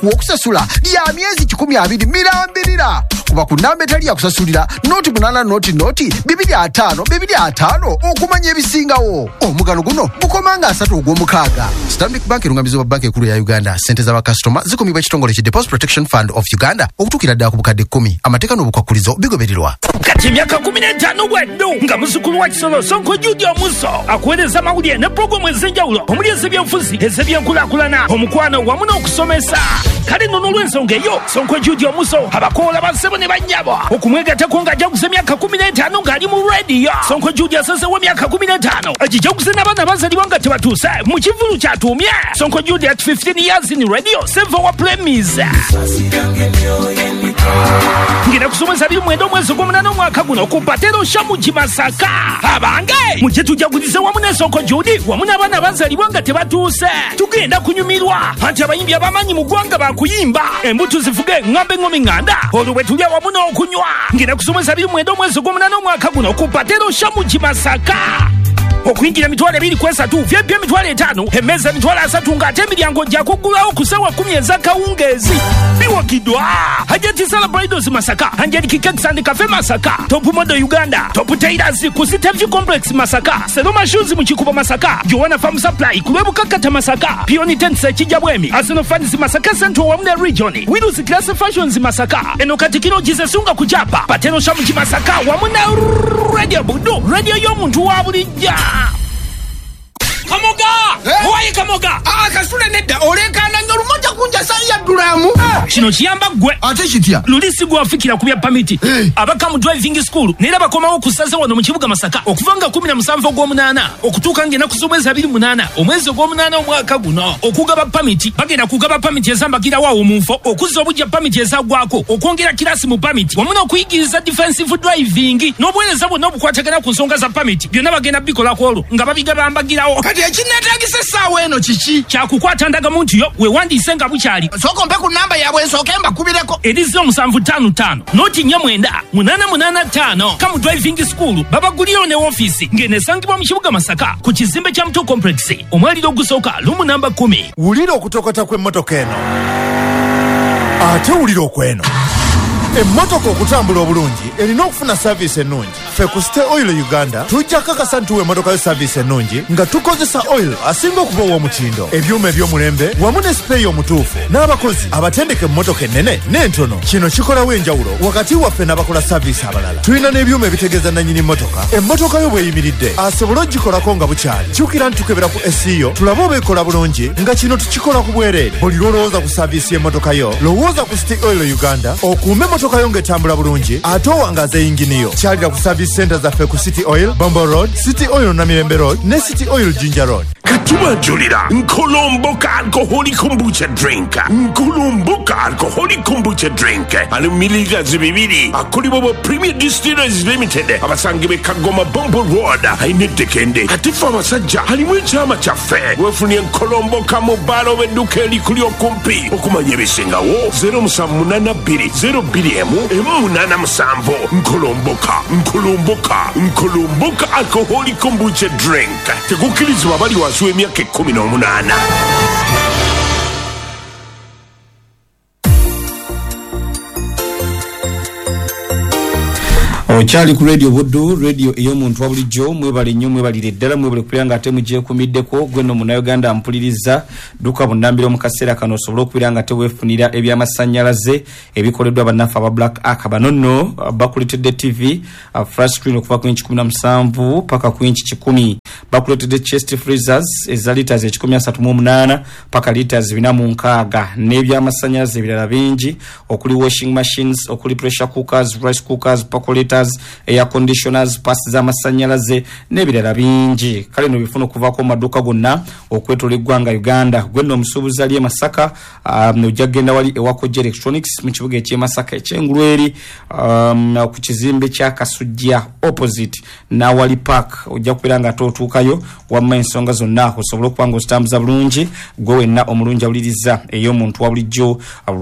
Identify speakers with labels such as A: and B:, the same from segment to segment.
A: Okusasula lya myezi 120 mirambirira kuba ku namba etali yakusasulira noti 8 noti noti 25 25 okumanya ebisingawo. Omugano guno gukomanga 3 ogw'omukaaga. Stanbic Bank erungamizibwa Banka Enkulu ya Uganda. Ssente z'abakasitoma zikumibwa ekitongole ki Deposit Protection Fund of Uganda okutuukira ddala ku bukadde 10. Amateeka n'obukwakulizo bigobererwa.
B: Kati emyaka 15 bweddu nga muzzukulu wa Kisolo Sonko Jude Omuso akuweereza amawulire ne pulogulaamu ez'enjawulo omuli ez'ebyenfuzi, ez'ebyenkulaakulana, omukwano wamu n'okusomesa. Kale nno n'olw'ensonga eyo Sonko Jude Omuso abakoola bassebo ne bannyabo okumwegattako ng'ajaguza emyaka 15 ng'ali mu rediyo. Sonko Jude asazeewo emyaka 15 agijaguze n'abaana abazaalibwa nga tebatuuse mu kivvulu kyatuumye Sonko Jude at 15 years in radio save our premise. Ngenda kusomesa 29 omwezi ogw'omunaana omwaka guno ku Patero Shamuji Masaka. Abange mujje tujagulize wamu ne Sonko Jude wamu n'abaana abazaalibwa nga tebatuuse. Tugenda kunyumirwa anti abayimbi abamanyi mu ggwanga bakuyimba embuto zifuge ŋŋambe ŋŋomi ŋŋanda olwo bwe tulya wamu n'okunywa. Ngenda kusomesa 29 omwezi ogw'omunaana omwaka guno ku Patero Shamuji Masaka. Okuyingira 223 VIP 5000 emmeeza 30,000 ng'ate emiryango gya kuggulawo ku ssaawa 10 ez'akawungeezi. Biwagiddwa Hajati Sala Bridals Masaka, Angelic Cakes and Cafe Masaka, Top Model Uganda, Top Tailors ku City View Complex Masaka, Seloma Shoes mu Kikubo Masaka, Joanna Farm Supply ku Lwebukakata Masaka, Peony Tents Kijabwemi, Arsenal Fans Masaka Central wamu ne Region, Wills Class Fashions Masaka, eno Katikiro Jisesunga ku Japa, Pateno Shamuji Masaka wamu na Radio Buddu, radio y'omuntu wa bulijja. Kamoga! Owaye Kamoga!
C: Kasule nedda olekaana nnyo olumoja kunja sayi yaddulamu.
B: Kino kiyamba ggwe.
C: Ate kitya?
B: Luli si gwe wafikira ku bya pamiti. Abaka mu driving school naye bakomawo ku ssaza wano mu kibuga Masaka okuva nga 17 ogw'omunaana okutuuka ng'ennaku z'omwezi 28 omwezi ogw'omunaana omwaka guno okugaba pamiti. Bagenda kugaba pamiti ezambagirawo awo mu nfo, okuzza obujja pamiti ezaggwako, okwongera kirasi mu pamiti wamu n'okuyigiriza defensive driving n'obuweereza bwonna obukwatagana ku nsonga za pamiti byonna bagenda bikolako olwo nga babigabambagirawo.
C: Kati ekinneetaagisa essaawa eno kiki?
B: Kyakukwata ndagamuntu yo weewandiise nga bukyali.
C: Sooka ompe ku namba yaabwe nsooke mbakubireko.
B: Eri 0755 noti 49 885. Kamu Driving School babagulirawo ne woofiisi ng'eno esangibwa mu kibuga Masaka ku kizimbe kya Muto Complex omwaliro ogusooka lumu namba 10.
D: Wulira okutokota kw'emmotoka eno ate wulira okweno. Emmotoka okutambula obulungi erina okufuna saavisi ennungi. Ffe ku City Oil Uganda tujja kakasa nti emmotoka yo saavisi ennungi nga tukozesa oil asinga okuba ow'omutindo, ebyuma eby'omulembe wamu ne sipeeyi omutuufu n'abakozi abatendeka emmotoka ennene n'entono. Kino kikolawo enjawulo wakati waffe n'abakola saavisi abalala. Tulina n'ebyuma ebitegeeza nannyini mmotoka emmotoka yo bw'eyimiridde asobole ogikolako nga bukyali. Kyukira nti tukebera ku SEO tulabe oba ekola bulungi nga kino tukikola ku bwereere. Buli lw'olowooza ku saavisi y'emmotoka yo lowooza ku City Oil Uganda okuume emmotoka yo ng'etambula bulungi ate owangaza eyingini yo. Kyalira ku service center zaffe ku City Oil Bombo Road, City Oil Namirembe Road ne City Oil Jinja Road.
E: Katubajulira Nkolomboka alcoholic kombucha drink. Nkolomboka alcoholic kombucha drink ali mililita 2 akolebwa ba Premier Distillers Limited abasangibwa e Kagoma Bombo Road ayinedekende. Ate ffe abasajja alimu ekyama kyaffe weefunye Nkolomboka mu bbaala oba edduuka erikuli okumpi. Okumanya ebisingawo 0782 02 187. Nkolomboka, Nkolomboka, Nkolomboka alcoholic kombucha drink tekukkirizibwa abali wansi w'emyaka 18.
F: Okyali ku Radio Buddu, radio ey'omuntu wa bulijjo. Mwebale nnyo, mwebalire ddala, mwebale kubeera nga ate mugyekumiddeko. Gwe nno Munnayuganda mpuliriza, dduka bunnambiro mu kaseera kano osobole okubeera nga teweefunira ebyamasannyalaze ebikoleddwa bannaffe aba Black Ark. Bano nno bakuleetedde TV flat screen okuva ku inchi 17 paka ku inchi 100. Bakuleetedde chest freezers eza liters 138 paka liters 460 n'ebyamasannyalaze ebirala bingi okuli washing machines, okuli pressure cookers, rice cookers, percolators, air conditioners, pasi z'amasannyalaze n'ebirala bingi. Kale no bifuna okuvaako mu maduuka gonna okwetola eggwanga Uganda. Gwe nno omusuubuzi ali e Masaka, ojja kugenda wali ewa Koja Electronics mu kibuga eky'e Masaka eky'engulu eri ku kizimbe kya Kasujja opposite n'awali park. Ojja kubeera nga ate otuukayo wamma ensonga zonna osobole okuba nga ozitambuza bulungi. Gwe wenna omulungi awuliriza ey'omuntu wa bulijjo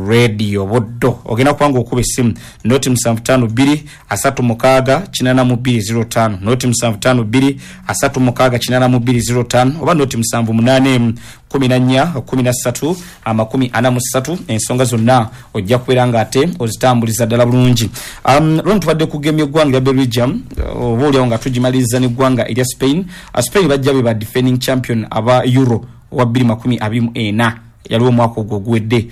F: Radio Buddu, ogenda kuba nga okuba essimu noti 752 36 8205 noti 752 36 8205 oba noti 781 14 13 43. Ensonga zonna ojja kubeera nga ate ozitambuliza ddala bulungi. Lwoni tubadde kugemya eggwanga lya Belgium, oba oliawo nga tugimaliriza n'eggwanga erya Spain. Spain bajja be ba defending champion aba Euro wa 2024, yaliwo omwaka ogwo oguwedde.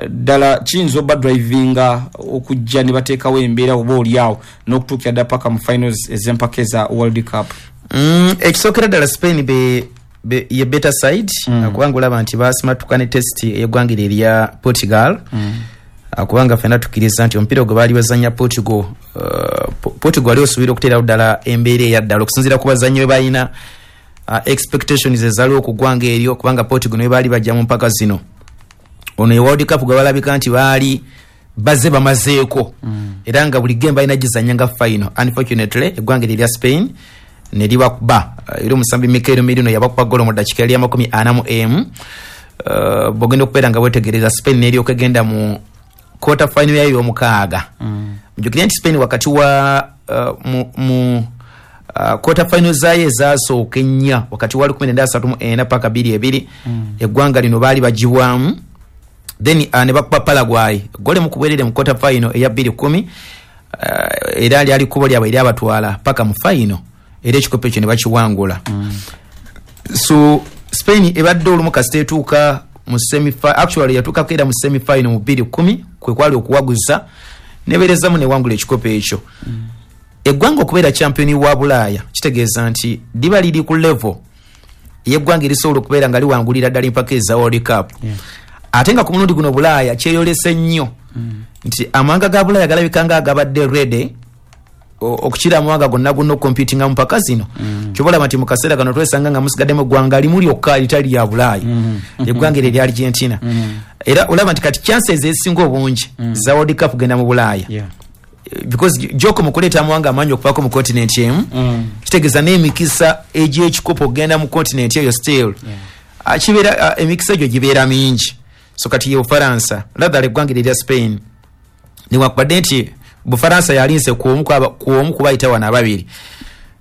F: Ddala kiyinza oba drivinga okujja ne bateekawo embeera oba oliawo n'okutuukira ddala paka mu finals ez'empaka eza World Cup?
G: Ekisookera ddala, Spain be ye better side, kubanga olaba nti basimatuka ne test ey'eggwanga eryo erya Portugal. Kubanga ffenna tukkiriza nti omupiira gwe baali bazanya Portugal, Portugal ali osuubira okuteerawo ddala embeera eyaddala okusinziira ku bazannyi be balina, expectations ezaaliwo ku ggwanga eryo, kubanga Portugal naye baali bajja mu mpaka zino ono e World Cup gwe balabika nti baali bazze bamazeeko, era nga buli game balina gizanya nga final. Unfortunately, eggwanga eryo erya Spain ne libakuba. Era omusambi Mikel Merino yabakuba golo mu ddakiika yali 41. Bwogenda okubeera nga wetegereza, Spain neryoka egenda mu quarter final yayo ey'omukaaga. Mujjukire nti Spain wakati wa mu quarter final zaayo ezasooka ennya wakati wa 1934 paka 22, eggwanga lino baali bagibwamu. Then ne bakuba Paraguay gole mu kubwerere mu quarter final eya 210. Era lyali kkubo lyabwe eryabatwala paka mu final, era ekikopo ekyo ne bakiwangula. So Spain ebadde olumu kasita etuuka mu semi, actually yatuukako era mu semifinal mu 210, kwe kwali okuwaguza nebeerezamu newangula ekikopo ekyo. Eggwanga okubeera champion wa Bulaaya kitegeeza nti liba liri ku level ey'eggwanga erisobola okubeera nga liwangulira ddala empaka eza World Cup. Ate nga ku mulundi guno Bulaaya kyeyolese nnyo nti amawanga ga Bulaaya galabika nga agabadde ready okukira amawanga gonna gonna okucompetinga mu mpaka zino. Kyoba olaba nti mu kaseera kano twesanga nga musigaddemu eggwanga limu lyokka eritali lya Bulaaya, eggwanga eryo erya Argentina. Era olaba nti kati chances ezisinga obungi za World Cup genda mu Bulaaya, because joko mu kuleeta amawanga amangi okuvaako mu continent emu, kitegeeza n'emikisa egy'ekikopo okugenda mu continent eyo still kibeera, emikisa egyo gibeera mingi. So kati ye Bufaransa rather eggwanga eryo erya Spain, newankubadde nti Bufaransa yalinze ku omu kubayita wano ababiri.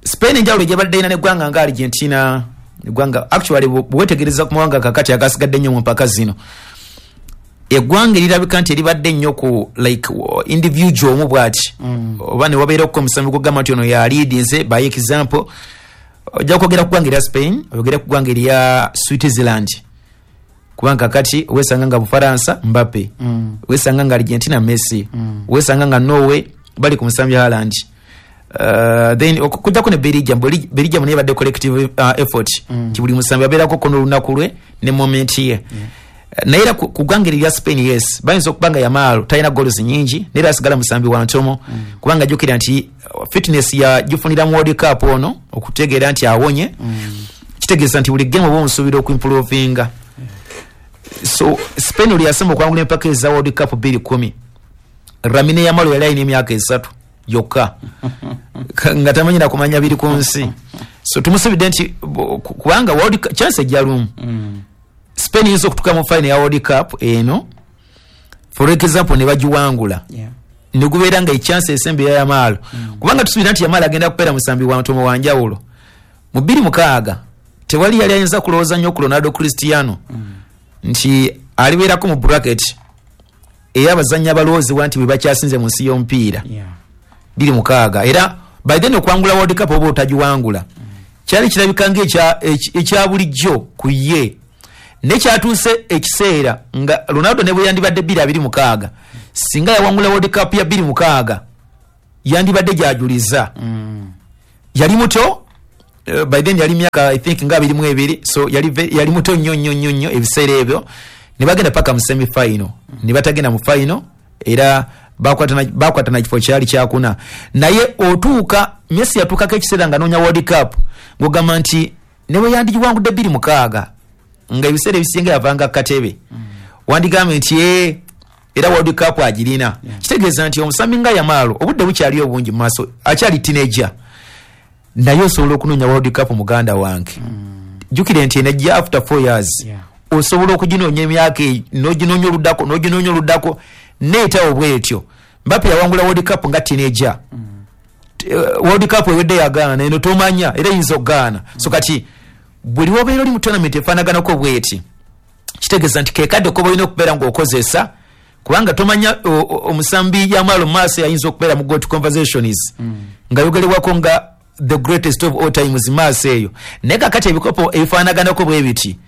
G: Spain enjawulo gyebadde erina neggwanga nga Argentina, eggwanga actually bwewetegereza ku mawanga kakati agasigadde ennyo mu mpaka zino, eggwanga erirabika nti eribadde ennyo ku like individual omu bwati, oba ne wabeerako omusambi gwogamba nti ono yaliidinze, by example ojja kwogera ku ggwanga erya Spain, oyogere ku ggwanga erya Switzerland, kubanga kati wesanga nga Bufaransa Mbappe, wesanga nga Argentina Messi, wesanga nga Norway bali ku musambi Haaland. Then okujjako ne Belgium, Belgium naye badde collective effort, nti buli musambi abeerako kono olunaku lwe ne moment ye. Naye era ku ggwanga eryo lya Spain, yes, bayinza okuba nga Yamal talina goals nyingi, naye era asigala musambi wa ntomo, kubanga jjukira nti fitness yagifunira mu World Cup ono okutegeera nti awonye, kitegeeza nti buli game oba omusuubira okuimprovinga. So Spain oli yasemba okwangula empaka eza World Cup 210, Lamine Yamal yali alina emyaka 3 yokka, nga tamanyi nakumanya biri ku nsi. So tumusuubidde nti kubanga World Cup chance ejja lumu. Spain eyinza okutuuka mu final ya World Cup eno, for example, ne bagiwangula, negubeera nga echance esembe ya Yamal, kubanga tusuubira nti Yamal agenda kubeera musambi wa ntomo wa njawulo. Mu 2006 tewali yali ayinza kulowooza nnyo ku Ronaldo Cristiano nti alibeerako mu bracket ey'abazannyi abalowoozebwa nti bwe bakyasinze mu nsi y'omupiira 2006. Era by then okwangula World Cup oba otagiwangula kyali kirabika nga ekya bulijjo ku ye, naye kyatuuse ekiseera nga Ronaldo ne bwe yandibadde 2026, singa yawangula World Cup ya 2006 yandibadde gyajuliza. Yali muto, by then yali myaka I think nga 22, so yali muto nnyo nnyo nnyo nnyo ebiseera ebyo. Ne bagenda paka mu semi final, ne batagenda mu final, era bakwatana kifo kyali kyakuna. Naye otuuka Messi yatuukako ekiseera nga noonya World Cup ng'ogamba nti ne bwe yandigiwangudde 2006, nga ebiseera ebisinga yavanga katebe, wandigambye nti era World Cup agirina. Kitegeeza nti omusambi nga Yamal obudde bukyali obungi mu maaso, akyali teenager, naye osobola okunoonya World Cup. Muganda wange, jjukire nti enejja after 4 years. Osobola okuginoonya emyaka eyo, n'oginoonya oluddako, n'oginoonya oluddako, neetawo bwetyo. Mbappe yawangula World Cup nga teenager. World Cup ewedde yagaana, eno tomanya era eyinza okugaana. So kati buli wobeera oli mu tournament efaanaganako bweti. Kitegeeza nti kekadde koba olina okubeera ng'okozesa, kubanga tomanya omusambi Yamal mu maaso yayinza okubeera mu GOAT conversations, nga yogerebwako nga the greatest of all times maaso eyo. Naye kakati ebikopo ebifaanaganako bwe biti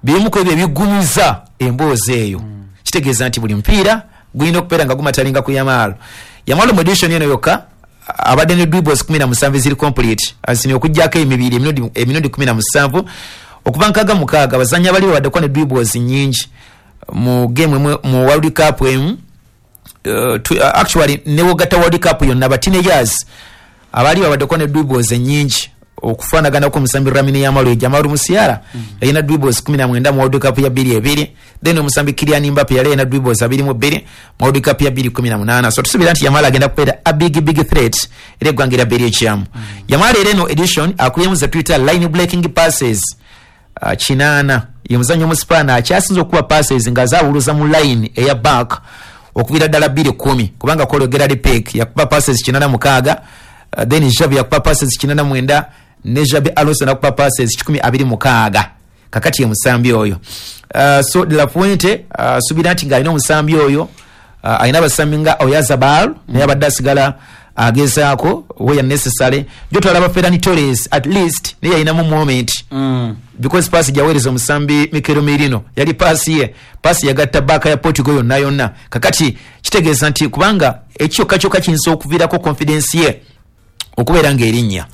G: birimu ku ebyo ebigumiza emboozi eyo. Kitegeeza nti buli mupiira gulina okubeera nga gumatalinga ku Yamal. Yamal mu edition eno yokka abadde ne dribbles 17 ziri complete, asini okuggyako emibiri emirundi 17 okuva 66. Abazannyi abali babaddeko ne dribbles nnyingi mu game emu mu World Cup emu, actually ne wogatta World Cup yonna, ba teenagers abaali babaddeko ne dribbles ennyingi okufaanaganako omusambi Lamine Yamal. Jamal Musiala yalina dribbles 19 mu World Cup ya 22. Then omusambi Kylian Mbappe yali alina dribbles 22 mu World Cup ya 2018. So tusuubira nti Yamal agenda kubeera a big big threat era eggwanga erya Belgium. Yamal era eno edition akubyemu ze tuyita line breaking passes 8. Ye muzannyo omusipaana akyasinze okuba passes nga zaawuluza mu line eya back okubira ddala 2-10, kubanga kolo Gerard Pique yakuba passes 86, then Xavi yakuba passes 89, ne Xabi Alonso nakuba passes 126. Kakati ye musambi oyo. So De La Fuente suubira nti ng'alina omusambi oyo, alina abasambi nga Oyarzabal, naye abadde asigala agezaako where necessary. Jotwalaba Ferran Torres, at least naye yalinamu moment, because paasi gyaweereza omusambi Mikel Merino yali paasi ye, paasi yagatta baaka ya Portugal yonna yonna. Kakati kitegeeza nti kubanga ekyokka kyokka kiyinza okuviirako confidence ye okubeera ng'erinnya.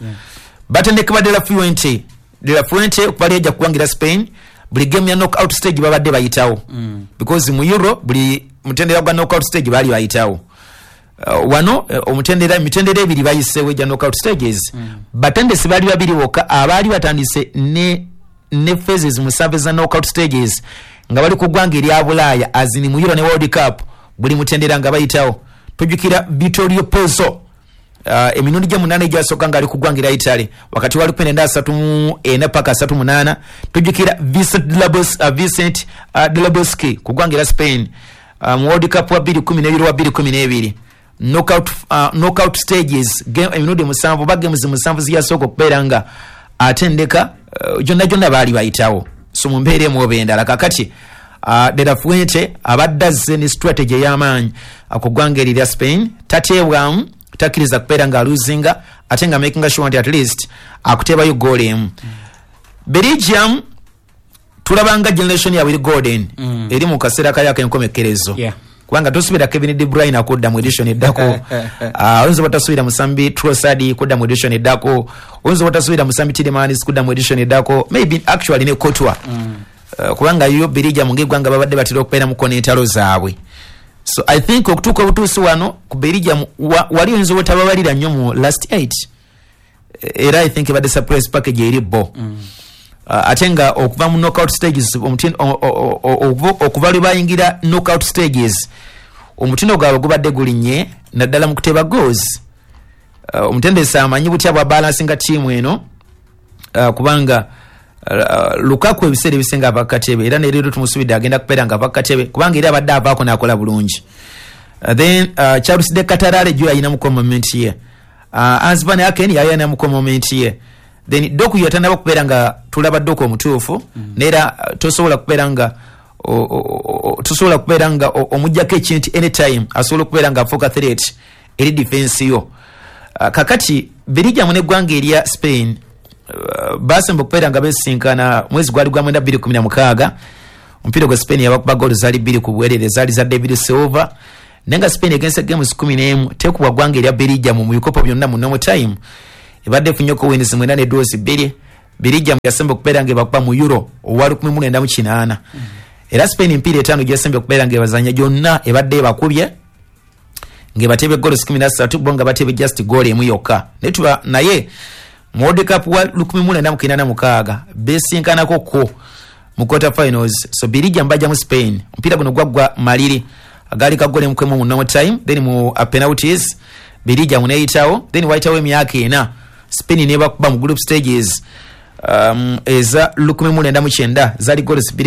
G: Batendeka ba De La Fuente, De La Fuente okuva lyajja kuwangira Spain, buli game ya knockout stage babadde bayitawo, because mu Euro buli mutendera gwa knockout stage baali bayitawo. Wano omutendera, emitendera ebiri bayiseewo egya knockout stages. Batendesi baali babiri bokka abaali batandise ne phases 7 za knockout stages nga bali ku ggwanga erya Bulaaya, azini mu Euro ne World Cup, buli mutendera nga bayitawo. Tojjukira Vittorio Pozzo, emirundi gye 8 egyasooka ng'ali ku ggwanga erya Italy wakati wa 1934 paka 38. Tujjukira Vincent Del Bosque ku ggwanga erya Spain, mu World Cup wa 2012 wa 2012, knockout stages game emirundi 7 oba games 7 ziyasooka okubeera nga atendeka, gyonna gyonna baali bayitawo. So mu mbeera emu oba endala, kakati De La Fuente abadde azze ne strategy ey'amaanyi ku ggwanga eri lya Spain. Tateebwamu, takkiriza kubeera nga aluzinga, ate nga making sure nti at least akuteebayo goal emu. Belgium tulabanga generation yaabwe eri golden, eri mu kaseera kayo ak'enkomekkerezo, kubanga tosuubira Kevin De Bruyne akudda mu edition eddako. Oyinza oba tosuubira musambi Trossard kudda mu edition eddako, oyinza oba tosuubira musambi Tielemans kudda mu edition eddako, maybe actually ne Courtois. Kubanga yo Belgium ng'eggwanga babadde batera okubeera muko n'entalo zaabwe. So I think okutuuka obutuusi wano ku Belgium wali oyinza obutababalira nnyo mu last 8, era I think ebadde surprise package eri bo. Ate nga okuva mu knockout stages, okuva lwe bayingira knockout stages, omutindo gwabwe gubadde gulinnye naddala mu kuteeba goals. Omutendesi amanyi butya bwa balansinga ttiimu eno, kubanga Lukaku ebiseera ebisinga ava kukatebe, era nereero tumusuubidde agenda kubeera nga ava kukatebe, kubanga era abadde avaako n'akola bulungi. Then Charles de Ketelaere jo yalinamuko moment ye, Hans Van Aken yali alinamuko moment ye, then Doku yatandaba kubeera nga tulaba Doku omutuufu. Neera tosobola kubeera nga tosobola kubeera nga omuggyako ekintu, anytime asobola okubeera nga afuuka threat eri defense yo. Kakati Belgium n'eggwanga erya Spain basemba okubeera nga besinkana mwezi gwali gwa 9 2016. Omupiira gwa Spain yabakuba goolo zaali 2 ku bwerere, zaali za David Silva. Naye nga Spain egense games 11 tekubwa ggwanga erya Belgium mu bikopo byonna. Mu normal time ebadde efunyeko wins 9 ne draws 2. Belgium yasemba okubeera nga ebakuba mu Euro owa 1980. Era Spain emipiira 5 gyasembye okubeera nga ebazanya gyonna ebadde ebakubye, ng'ebatebe goals 13, bo nga batebe just goal emu yokka. Naye tuba naye mu World Cup wa 1996 besinkanako ko mu quarter finals. So Belgium bajja mu Spain, omupiira guno gwaggwa maliri agaali ka goal emu mu normal time, then mu penalties Belgium neyitawo. Then wayitawo emyaka 4, Spain nebakuba mu group stages eza 1990, zaali goals 2.